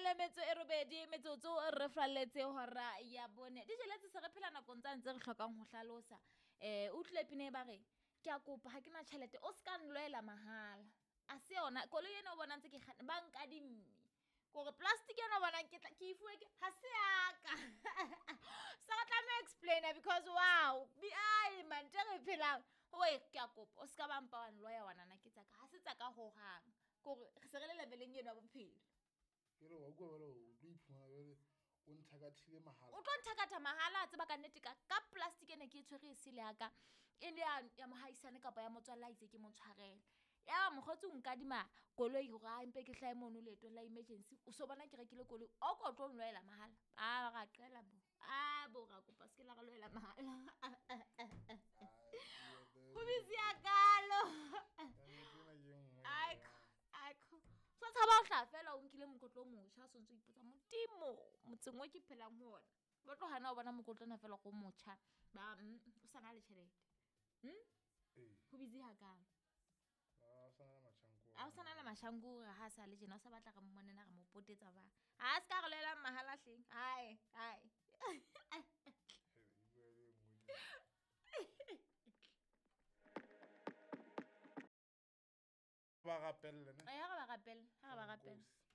Le metso e robedi metsotso re falletse hora ya bone. Di jeletse se re phela nakong tsa ntse re hlokang ho hlalosa. O utlwile pina e ba reng? Ke a kopa ha ke na tjhelete o ska nlwela mahala. A se yona koloi ena o bona ntse ke kganna ba nkadimme. Kore plastic ena o bonang ke tla ke e fuwe ke ha se ya ka. So re tlameha explainer because wow, bi ai man tse re phelang. Oi ke a kopa o ska ba mpa wa nloya wa nana ke tsaka. Ha se tsaka hohang. Kore re se re le leveleng eno ya bophelo. Ke re wa utlwa jwale o tlo iphumana jwale o nthakathile mahala. O tlo nthakatha mahala a tseba ka nnete ka plastic ene ke e tshwere e sele ya ka. E le ya mohaisane kapa ya motswalle a itse ke mo tshwarele. Ya mokgotsi o nkadima koloi hore a mpe ke hlahe mono leetong la emergency. O so bona ke rekile koloi, o ko tlo nlwela mahala. A ra qela bo. A bo ra kopa se ke la re lwela mahala. Ho busy ya kalo. Aiko, aiko. So tshaba ho hlaha fela o nkile mokotlo o motjha, o sontso o ipotsa Modimo, motseng o ke phelang ho ona. Ba tlo hana ho bona mokotlo ona fela go motjha. Ba o sa na le tjhelete. Ee. Ho busy hakalo. A o sa na le mashango. A o sa na le mashango ha sa le tjena, o sa batla re mmonena re mo potetsa ba. Ha se ka re lwela mahala hleng. Hai, hai. Ba rapelle, ne? Eh, ha re ba rapelle, ha re ba rapelle. Nkosi.